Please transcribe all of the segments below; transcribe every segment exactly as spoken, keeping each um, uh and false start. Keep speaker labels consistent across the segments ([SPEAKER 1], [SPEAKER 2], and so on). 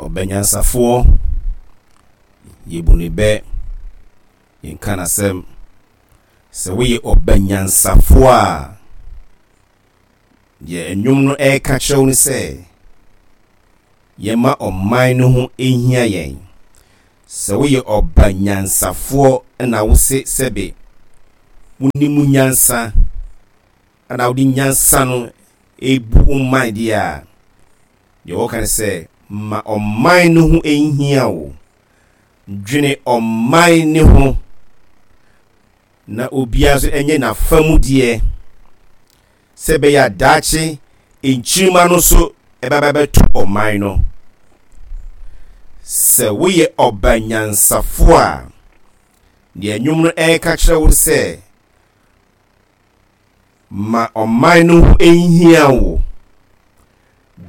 [SPEAKER 1] Ɔba nyansafoɔ, yɛbu ne bɛ, yɛnka n'asɛm. Sɛ woyɛ ɔba nyansafoɔ a, deɛ nnwom no ɛreka kyerɛ wo ne sɛ yɛma ɔman no ho nhia yɛn. Sɛ woyɛ ɔba nyansafoɔ na wose sɛbe wonim nyansa ana wode nyansa no ebu wo man deɛ a, deɛ wɔka ne sɛ ma ɔman no ho nhia wo. Dwene ɔman ne ho na obiara nso nyɛ n'afa mu deɛ sɛ ɛbɛyɛ a daakye nkyirima no nso ɛbɛba bɛto ɔman no. Sɛ woyɛ ɔba nyansafoɔ a, deɛ nnwom no ɛreka kyerɛ wo sɛ ma ɔman no ho nhia wo.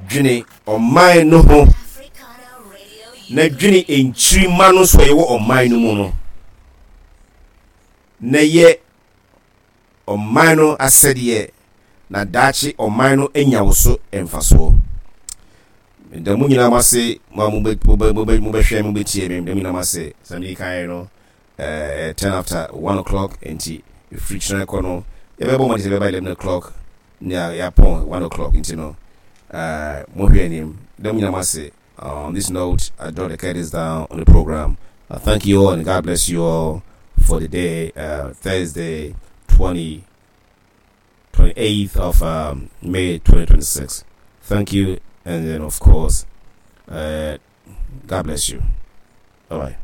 [SPEAKER 1] Dwene ɔman no ho na dwene nkyirima no nso a ɛwɔ ɔman no mu no na yɛ ɔman no asɛdeɛ na daakye ɔman no anya wo so mfasoɔ. Da mu nyinaa mo ase, mo a mobɛhwɛ, mobɛtie me, da mu nyinaa mo ase. Sɛ mede kan no, uh, ten after one o'clock, nti ɛfiri kyerɛ kɔ no yɛbɛbɔ mmɔden sɛ bɛba eleven o'clock ne yɛapɔn one o'clock, nti no uh, mohwɛ anim. Da mu nyinaa mo ase. On this note, I draw the curtains down on the program. Uh, thank you all and God bless you all for the day, uh, Thursday, twenty, twenty-eighth of um, May twenty twenty-six. Thank you, and then of course, uh, God bless you. Bye bye.